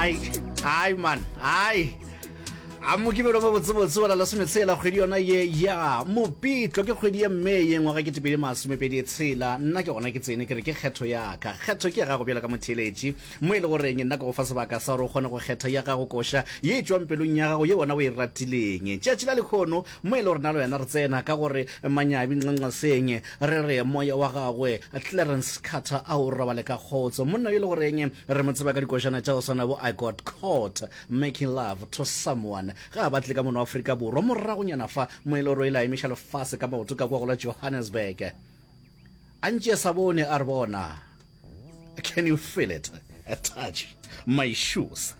Ai, ai man, ai. A mokibelo mo botsebotse wa la lesometshela kgwedi yona ye ya Mopitlo ke kgwedi ya Mei ngwaga ke tepedi masomepedi tshela. Nna ke gona ke tsene ke re ke kgetho ya ka. Kgetho ke ya gago bjalo ka motheeletši mo e le goreng nna ke go fa sebaka sa gore o kgone go kgetha ya gago koša ye e tšwang pelong ya gago ye wena o e ratileng. Tšatši la lekhono mo e le gore nna le wena re tsena ka gore manyabi nqanqaseng re re moya wa gagwe Clarence Carter a o robale ka kgotso. Monna yo e le goreng re mo tseba ka dikošana tša go swana bo I Got Caught Making Love to Someone ge a batle ka mono Afrika Borwa moragonyana fa mo e le gore o ile a emiša lefase ka maoto ka kwa go la Johannesburg. A ntše sa bone a re bona Can you feel it? Touch my shoes.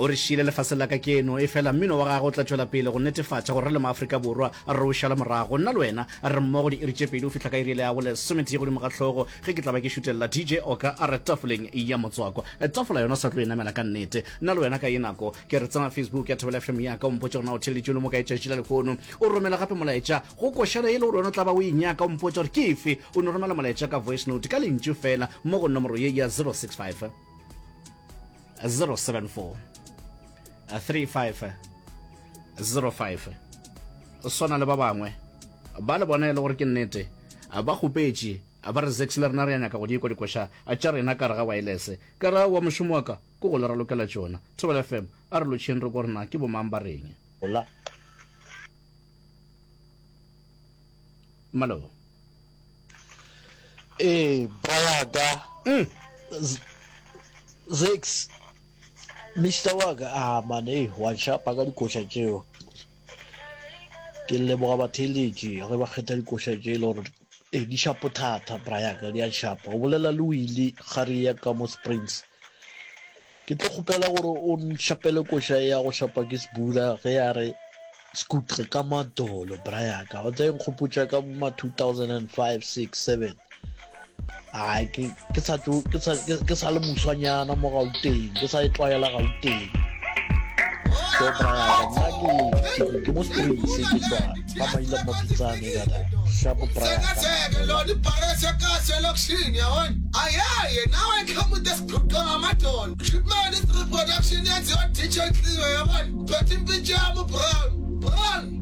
O re šile lefaseng la ka keno, efela mmino wa gagwe o tla tšwela pele go netefatša gore re le maAfrika Borwa re o šala morago. Nna le wena re mmogo diiri tše pedi go fihla ka iri yela ya bolesometee godimo ga hlogo ge ke tla ba ke šutelela DJ Oka a re tafoleng ya motswako. Tafola yona o sa tlo e namela ka nnete. Nna le wena ka ye nako ke re tsena Facebook ya Thobela FM ya ka o mpotše gore na o theeleditše o le mo kae tšatši la lehono. O romela gape molaetša go košana e le gore wena o tla ba o e nyaka o mpotša gore ke efe. O no romela molaetša ka voice note ka lentšu fela mo go nomoro ye ya 065 074 35 05 swana le ba bangwe ba le bona e le gore ke nnete ba kgopetše ba re zex le rena re ya nyaka go di kwa dikoša tša rena ka re ga wireless ka ra wa mošomo wa ka ke go le ralokela tšona Thobela FM a re lotšheng re ko rena ke bomang ba reng Hola. Malo. Ee, bra ya ka. Mm. Zex, Mister wa ka, ah man, ei, wa nšapa ka dikoša tšeo. Ke leboga batheeletši ge ba kgetha dikoša tše e le gore ee di šapo thata, bra ya ka, di a šapa. O bolela le Willie Gare ya ka mo Springs. Ke tlo kgopela gore o nšapele koša ya go šapa ke Sbula ge a re Skutle ka madolo bra ya ka. O tla e nkgopotša ka bo ma 2005, 6, 7. Ai ke ke sa tlo ke sa ke sa le moswanyana mo Gauteng, ke sa e tlwaela Gauteng. So bra ya ka nna ke ke ke mo Springs ke tswa ga Maila Mapitsane ka da. Shapo bra ya ka. Shipman is reproduction yenziwa DJ Cleo yabona. Phethe impintshi yami uBrown. Brown.